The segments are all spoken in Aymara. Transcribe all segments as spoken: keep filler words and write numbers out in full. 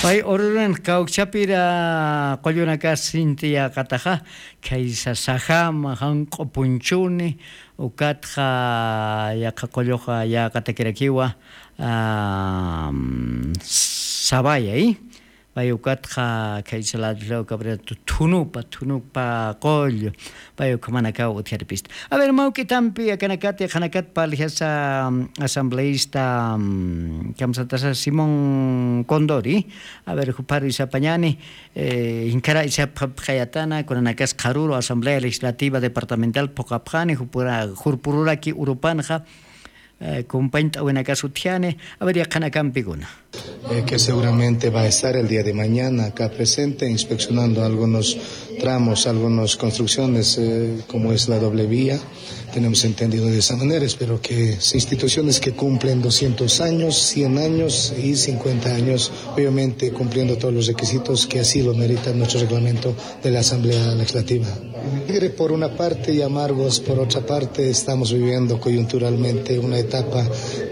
Pay ururin kawkchapira qullunakas sinti yäqataxa, khaysa sajama janq'u punchuni, ukatxa yaqha qulluxa yäqatakirakiwa. Sabaya i pay ukatxa khaysa ladlaw kabrera thunupa thunupa qullu. Pay ukhamanakaw utjaripista. A ver, mawk'itampi akanakati qhanakat parlixasa asambleista, kamsatasa simón condori. A ver, jupharu isapañani, inkhara isapxapxayatana kunanakas qharuru asamblea legislativa departamental phuqapxani jurpururaki urupanxa, kumpañt'awinakas utjani. A ver, yaqhanakampikuna. Que seguramente va a estar el día de mañana acá presente inspeccionando algunos tramos, algunas construcciones, como es la doble vía. Tenemos entendido de esa manera, espero que instituciones que cumplen doscientos años, cien años y cincuenta años, obviamente cumpliendo todos los requisitos que así lo merita nuestro reglamento de la Asamblea Legislativa. Alegres por una parte y amargos por otra parte, estamos viviendo coyunturalmente una etapa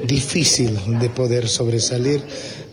difícil de poder sobresalir.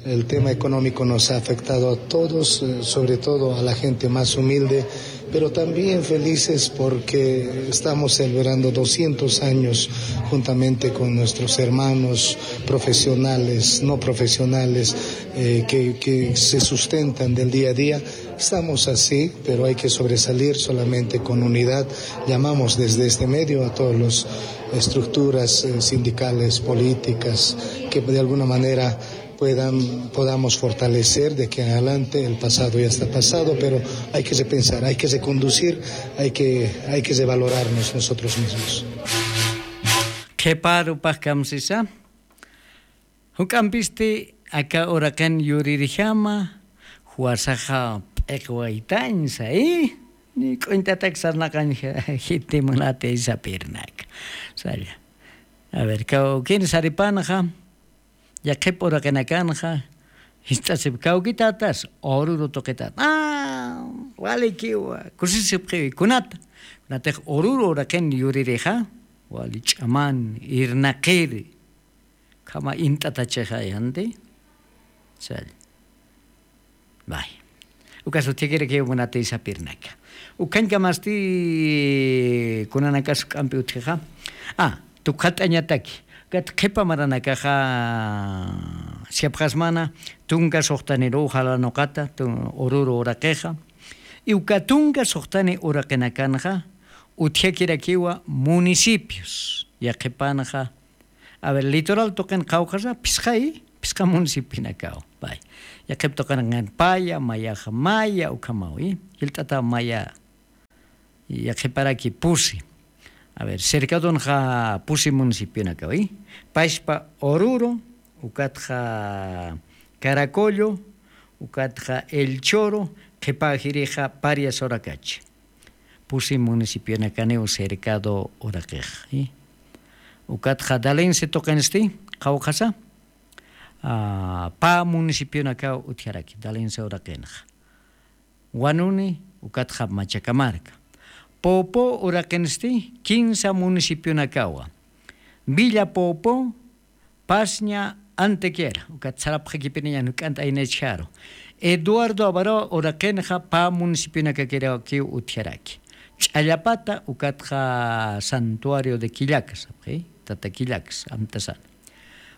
El tema económico nos ha afectado a todos, sobre todo a la gente más humilde, pero también felices porque estamos celebrando doscientos años juntamente con nuestros hermanos profesionales, no profesionales, que se sustentan del día a día. Estamos así, pero hay que sobresalir solamente con unidad. Llamamos desde este medio a todas las estructuras sindicales, políticas, que de alguna manera puedan, podamos fortalecer de aquí en adelante. El pasado ya está pasado, pero hay que repensar, hay que reconducir, hay que, hay que revalorarnos nosotros mismos. Qhiparu pajkamsisa. Juk'ampisti aka uraqin yuririjama, juwasaxa p'iqwaytañsa i ni k'uñt'atak sarnaqañja. Jiti munati sapirnak. Saya. A ver, kawkin saripanxa yaqhip uraqinakanxa jist'asip kawkitatas ururu tuqitat. Walikiwa kusisipxiwi kunata. Kunatix ururu uraqin yuririxa wali ch'aman irnaqiri. Khama int'atachixayanti. Sall. Bay. Ukas utjikirakiw munati sapirnaka. Ukhañkamasti kunanakas juk'ampi utjixa. A tukxat'añataki ukat qhipa maranakaxa. Siapxasmana tunka suxtaniruw jalanuqata ururu uraqixa. Iwka tunka suxtani uraqinakanxa utjakirakiwa municipios yaqhipanxa. A ver, litoral tuqin qawqasa phisqay phisqa municipionakaw. Pay yaqhip tuqin qanqin paya mayaxa maya ukhamawi. Jilt'ata maya yaqhiparaki pusi. A ver, cercadonxa pusi municipionakaw i pashpa ururu, ukatxa caracollo, ukatxa elchoro, qhipajirixa parias urakachi. Pusi municipionakaniw cercado uraqix. Ukatxa dalense tuqinsti qhawqasa pä municipionakaw utjaraki dalense uraqinxa. Wanuni ukatxa machakamarka. Popo uraqinsti kinsa municipionakawa. Villa popo, pasña, antequera ukat sarapxakipiniñan juk'ant'aynachjaru. Eduardo abaroa uraqinxa pä municipionakakirakiw utjaraki. Ch'allapata ukatxa santuario de quillaca sapxi tata quillaca amtasana.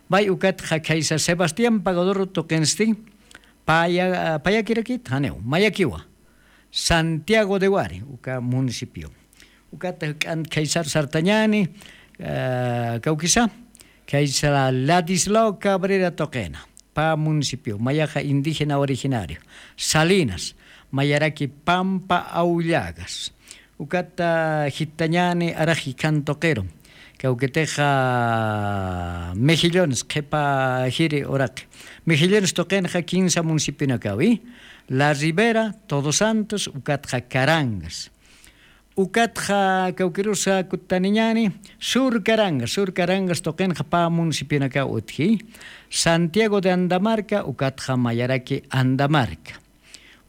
Bay ukatxa khaysa sebastián pagador tuqinsti payakirakit janiw mayakiwa. Santiago de wari uka municipio. Ukata k'ant khaysar sartañani kawkisa khaysa ladislao cabrera tuqina. Pä municipio mayaxa indígena originario salinas mayaraki pampa awllagas. Ukata jitañani araxi khantuqiru kawkitixa mejillones qhipa jiri uraqi. Mejillones tuqinxa kinsa municipionakawi. La ribera, todos santos ukatxa carangas. Ukatxa kawkirusa kutaniñani sur carangas sur carangas tuqinxa pä municipionakaw utji. Santiago de andamarca ukatxa mayaraki andamarca.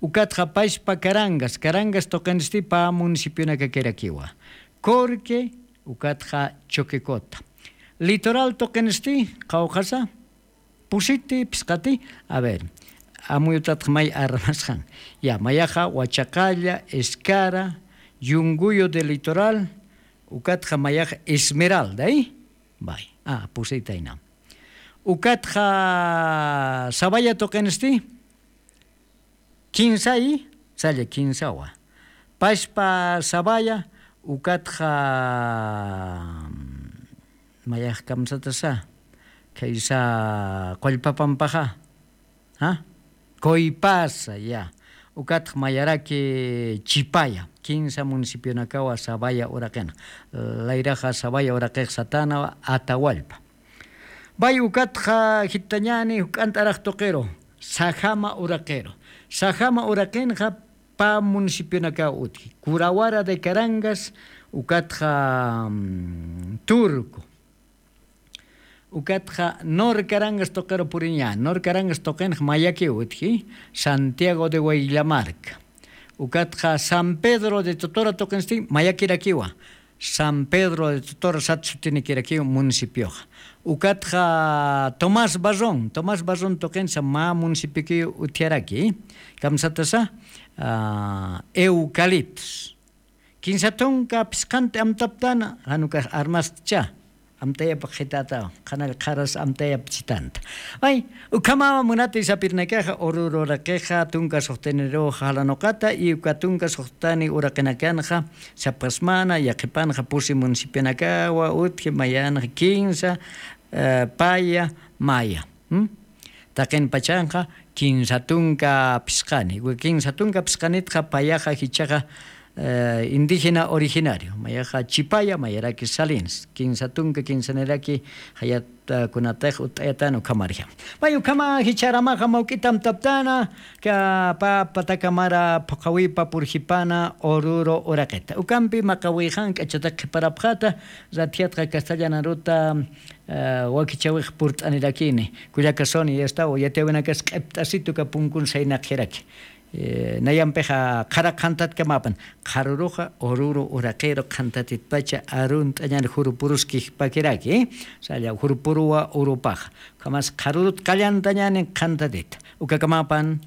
Ukatxa pashpa carangas carangas tuqinsti pä municipionakakirakiwa. Corque ukatxa choquecota. Litoral tuqinsti qhawqasa pusiti phisqati. A ver, Amuyutatxa may armasxan. Ya mayaxa wachaqalla, escara, yunguyo de litoral, ukatxa mayaxa esmeralda. Bay a pusitayna. Ukatxa sabaya tuqinsti. Kinsay salla kinsawa. Pashpa sabaya ukatxa mayax kamsatasa. Khaysa qullpapampaxa. Kuypasa ya. Ukatxa mayaraki chipaya kinsa municipionakawa sabaya uraqina. Layraxa sabaya uraqix satanawa atawallpa. Bay ukatxa jitañani juk'ant'arax tuqiru sajama uraqiru. Sajama uraqinxa pa municipionakaw utji curawara de carangas ukatxa turco. Ukatxa norcarangas tuqiru puriña norcarangas tuqinxa mayakiw utji santiago de wayllamarca. Ukatxa san pedro de totora tuqinsti mayakirakiwa san pedro de totora sat sutinikirakiw municipioxa. Ukatxa tomás barrón tomás barrón tuqinsa mä municipiokiw utjaraki. Kamsatasa eucaliptos. Kinsa tunka phisqanti amtaptana janukax armastcha. Amtayapaq qhitata qhanall qharas amtayap chitanta. Ay, ukhamawa munati sapirnakaxa ururu uraqixa tunka suxtiniruxa jalanuqata y uka tunka suxtani uraqinakanxa sapxasmana yaqhipanxa pusi municipionakawa utji mayanxa kinsa paya maya. Taqin pachanxa kinsa tunka phisqani uka kinsa tunka phisqanitxa payaxa jichaxa indígena originario mayaxa chipaya mayaraki salinas kinsa tunka kinsaniraki jayat kunatix ut'ayatan ukhamarja. May ukhama jicharamaxa mawk'itamtaptana ka pa patakamara phuqhawipa purjipana ururu uraqita ukampi maqawixan k'achatak qhiparapxata. Ratjatqa castellanaruta wakichawix purt'anirakini kullakasuni yastaw yatiyawinakas q'ipt'asitu kapunkun saynaqjiraki. Nayampixa qhara qhantatkamapan qharuruxa ururu uraqiru qhantatitpacha arunt'añan jurupuruskijpakiraki. Salla jurupuruwa urupaxa ukhamas qharurut qallantañani qhantatita ukakamapan.